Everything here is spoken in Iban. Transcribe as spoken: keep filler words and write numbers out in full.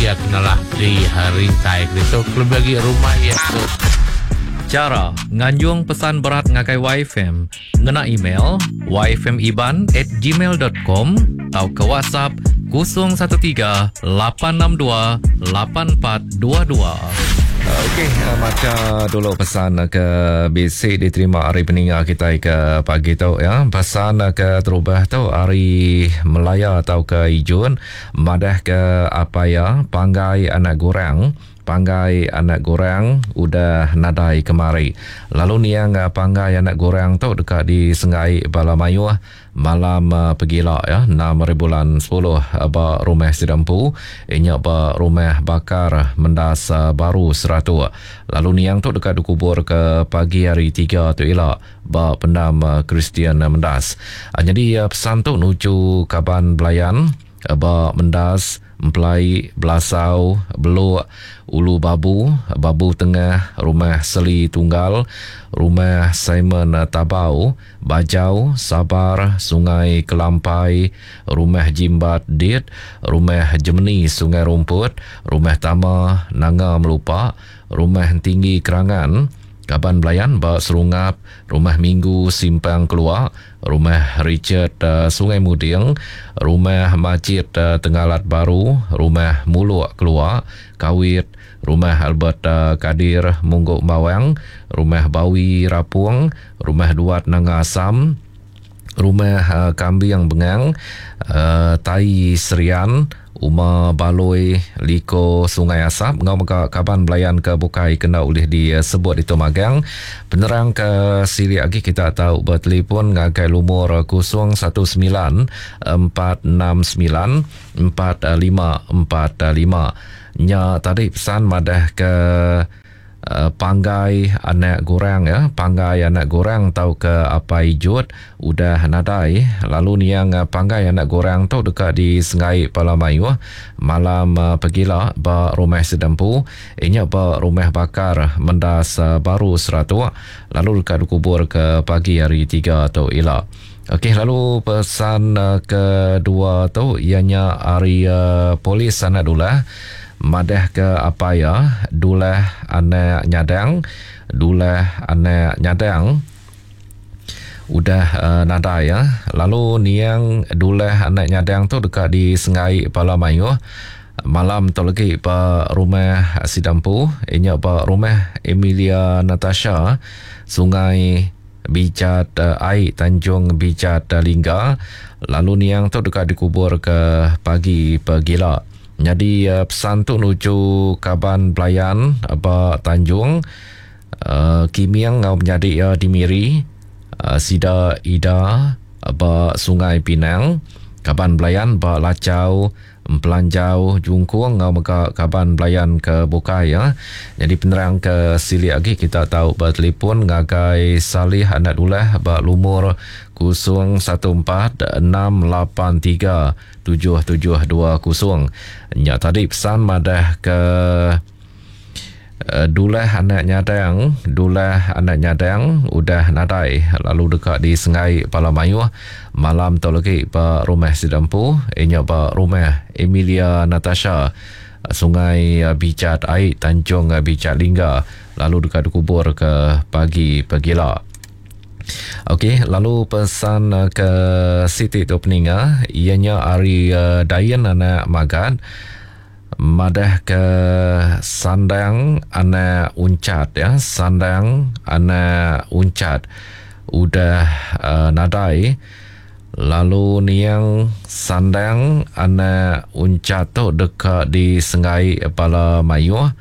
iya ke nalah di rintai ditu kelebih agi rumah iya tu. Chara nganjung pesan berat ngagai Waifm ngena email waifmiban at gmail dot com tauka WhatsApp kosong satu tiga lapan enam dua lapan empat dua dua. Okey, macha dulu pesan ke bisi diterima hari peninga kita ke pagi tu ya. Pesan ke terubah tu hari Melaya atau ke Ijun madah ke apa ya panggai anak gorang. Panggai anak gorang udah nadai kemari. Lalu niang panggai anak gorang tu dekat di Sengai Bala Mayuh malam pegila ya enam hari bulan sepuluh ba rumah Sidampu inya ba rumah Bakar Mendas Baru Seratuk. Lalu niang tu dekat dikubur ke pagi hari tiga tu ila ba pendam Kristian Mendas. Jadi pesan tu nuju kaban belayan ba Mendas Empelai, Belasau, Beluk, Ulu Babu, Babu Tengah, Rumah Seli Tunggal, Rumah Simon Tabau, Bajau, Sabar, Sungai Kelampai, Rumah Jimbat Dit, Rumah Jemeni Sungai Rumput, Rumah Tama Nanga Melupa, Rumah Tinggi Kerangan, Kaban Belayan ba Serungap, Rumah Minggu Simpang Keluak, Rumah Richard uh, Sungai Muding, Rumah Majid uh, Tenggalat Baru, Rumah Muluk Keluak, Kawit, Rumah Albert uh, Kadir Mungguk Bawang, Rumah Bawi Rapung, Rumah Duat Nanga Asam, Rumah uh, Kambing Bengang, uh, Tai Serian, Uma Baloi Liko Sungai Asap ngau mega kaban belayan ke bukai kena ulih disebut itu magang. Penerang ke sili lagi kita tahu bertelefon ngagai lumur kosong satu sembilan empat enam sembilan empat lima empat lima. Nya tadi pesan madah ke Uh, panggai anak gorang ya, panggai anak gorang tau ke apa ijut udah nadai. Lalu niang panggai anak gorang tu dekat di Sengai Pala Mayuh malam uh, pegila ba rumah Sedempu inya ba rumah Bakar Mendas uh, Baru Seratuk lalu dekat dikubur ke pagi hari tiga tu ila. Okey, lalu pesan uh, kedua tu ianya hari uh, polis anak dulah madah ke apa ya dulah anak nyadang dulah anak nyadang udah uh, nadai ya. Lalu niang dulah anak nyadang tu dekat di Sengai Pala Mayuh malam tu lagi ba rumah Sidampu inya ba rumah Emilia Natasha Sungai Bijat uh, Ai Tanjung Bijat uh, Lingga. Lalu niang tu dekat dikubur ke pagi pegila. Jadi uh, pesan tu nuju kaban belayan ba Tanjung uh, Kimiang ngau menjadi ya di Miri uh, Sida Ida ba Sungai Pinang, kaban belayan ba Lacau Empelanjau Jungkung ngau mega kaban belayan ke bukai ya. Jadi penerang ke sili lagi kita tahu bertelefon ngagai Salih Anak Dulah ba lumur kosong satu empat enam lapan tiga tujuh tujuh dua kosong. Nya tadi pesan madah ke uh, dulah anak nyadang, dulah anak nyadang udah nadai lalu dekat di Sengai Pala Mayuh malam tu lagi ba rumah Sidampu inya ba rumah Emilia Natasha Sungai Bijat Ai Tanjung Bijat Lingga lalu dekat dikubur ke pagi pegila. Okey, lalu pesan ke Siti tu peninga ianya ari uh, Dayan anak Magan madah ke sandang anak uncat ya, sandang anak uncat udah uh, nadai. Lalu niang sandang anak uncat tu dekat di Sengai Pala Mayuh